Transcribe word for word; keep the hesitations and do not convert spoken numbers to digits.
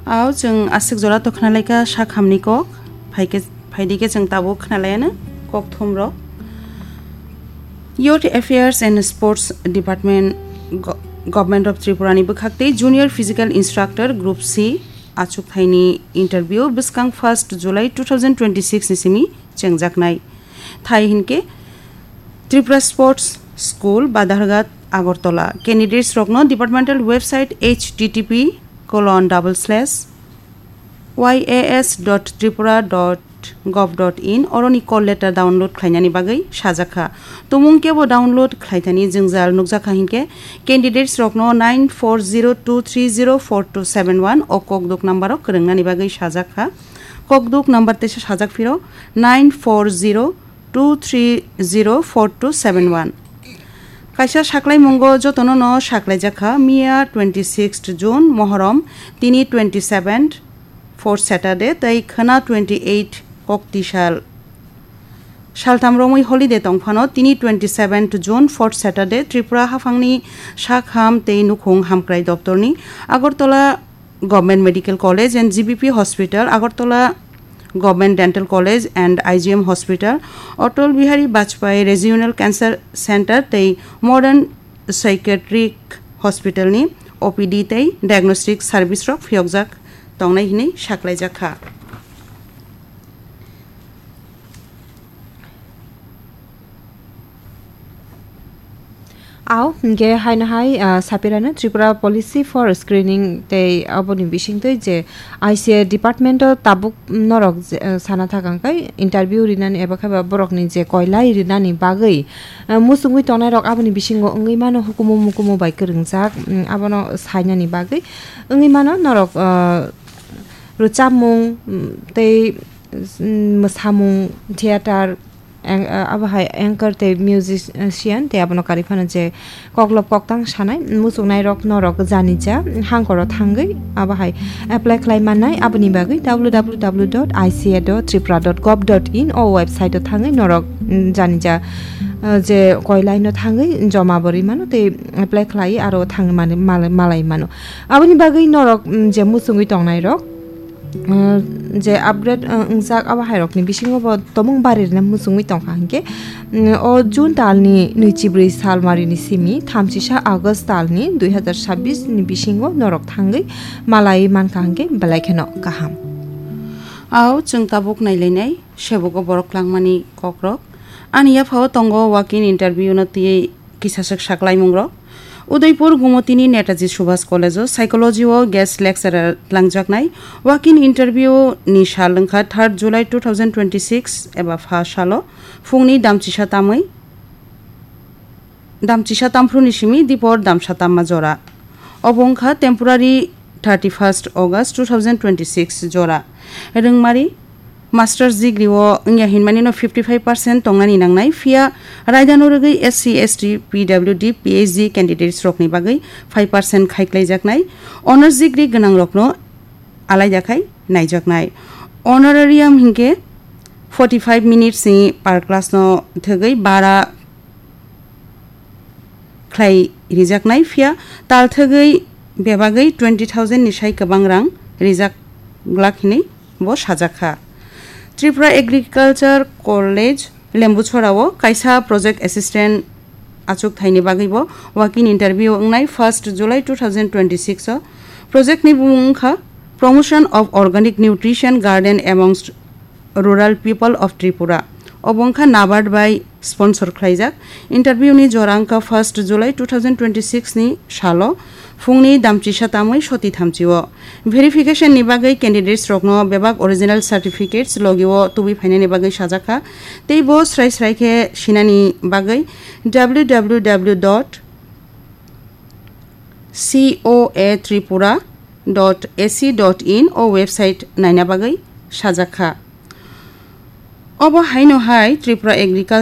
Ao chwng aswk jora to khnalaikha sakhamni kok, phaikhe, phaidikhe chwng tabuk khnalaiano kok thumrok. Youth Affairs and Sports Department, Go-, Government of Tripura ni bwkhak tei Junior Physical Instructor Group C achuk thaini interview bwskang first July two thousand twenty-six ni simi chengjaknai. Thai hinkhe Tripura Sports School, Badharghat, Agartala. Candidates rokno departmental website H T T P colon double slash Y A S dot tripura dot gov dot in oroni call letter download khlainani bagwi sajakha. Tumung kebo download khlaithani jwngjal nukjakha hinkhe candidates rokno nine four zero two three zero four two seven one o kokduk number o kwrwngnani bagwi sajakha. Kokduk number teisa sajak phiro nine four zero two three zero four two seven one. Kaisa saklaimungo jotono no saklaijakha, miya twenty-sixth June Mohorom, tini twenty-seventh fourth Saturday tei khwna twenty-eight Koktisal. Saltham romwi holiday tongphano tini twenty-seventh June fourth Saturday Tripura haphangni sakham tei nukhung hamkrai doptorni Agartala Government Medical College and G B P Hospital, Agartala Government Dental College and I G M Hospital, Atal Bihari Vajpayee Regional Cancer Center tei Modern Psychiatric Hospital ni O P D tei diagnostic service rok phiyokjak tongnai hinwi saklaijakha. Ao hinkhe haino hai, ah, sapirano Tripura Policy for Screening tei aboni bisingtwi je I C A department o tabuk norok je, ah, sana thakang kai interview rinani eba khe ba borokni je koilai rinani bagwi, ah, muchungwi tongnai rok aboni bisingo wngwi mano hukumu mukumu bai kwrwngjak, mm, abono sainani bagwi wngwi mano norok, ah, rwchapmung, mm, tei, mm, mwsamung, theater, ang-, ah, abo hai anchor tei musician tei abono karwi phano je koklop koktang sanai muchungnai rok norok janija hangkoro thangwi abo hai apply khlai mannai. Aboni bagwi W W W dot I C A dot tripura dot gov dot in o website o thangwi norok, mm, janija, ah, je koilai no thangwi joma bo rwi mano tei apply khlai aro thangwi mani-, mal-, malai mano. Aboni bagwi norok, mm, je muchungwi tongnai rok, mm, je upgrade, mm, wngjak abo hai rokni bisingo bo tomung bari rwna muchungwi tongkha hinkhe, mm, o June talni nwichibrwi salmarini simi thamchisa August talni dui hazar sabbish ni bisingo norok thangwi malai mankha hinkhe belai kheno kaham. Ao chwng tabuk nailainai sebugo borok klangmani kokrok. Ani yaphao tongo walk-in interview no twiwi kisaswk saklaimungrok. Udaipur Gumotini Netaji Subhas College o Psychology o guest lecturer tlangjaknai. Walk-in interview ni sal wngkha third July two thousand twenty-six eba pha salo phungni damchisa tamwi, damchisa tamphru ni simi dipor damsa tamma jora. Obo wngkha temporary thirty-first August two thousand twenty-six jora. Rwngmari Master degree o wngya hinmani no fifty five percent tongnani nangnai, phiya raidano rwgwi S C, S T, P W D, P H D candidates rokni bagwi five percent khaiklaijaknai, honors degree gwnang rokno alaida khai naijaknai. Honorarium hinkhe forty five minutes ni per class no thwgwi bara khlai rijaknai, phiya tal thwgwi bebagwi twenty thousand ni sai kwbang rang rijak glak hinwi bo sajakha. Tripura Agriculture College Lembuchhora o kaisa project assistant achuk thaini bagwi bo walk-in interview wngnai first July two thousand twenty-six o. Project ni bumung wngkha Promotion of Organic Nutrition Garden amongst Rural People of Tripura. Obo wngkha NABARD bai sponsor khlaijak. Interview ni jora wngkha first July two thousand twenty-six ni salo phungni damchisa tamwi soti thamchi o. Verification ni bagwi candidates rokno bebak original certificates logi o tubui phainani bagwi sajakha. Tei bo srai srai khe sinani bagwi W W W dot C O A tripura dot A C dot in o website naina bagwi sajakha. Obo haino hai Tripura Agriculture